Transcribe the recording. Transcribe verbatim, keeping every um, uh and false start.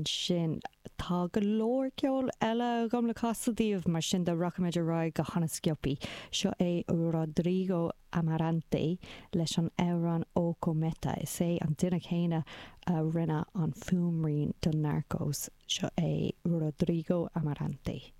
Ansin tá go leor ceol eile agam le casadh daoibh mar sin de rachaimid ar aghaidh go han-sciobtha. Seo é Rodrigo Amarante leis an amhrán O Cometa is é an duine céanna a rinne an fuaimrian do Narcos seo é Rodrigo Amarante.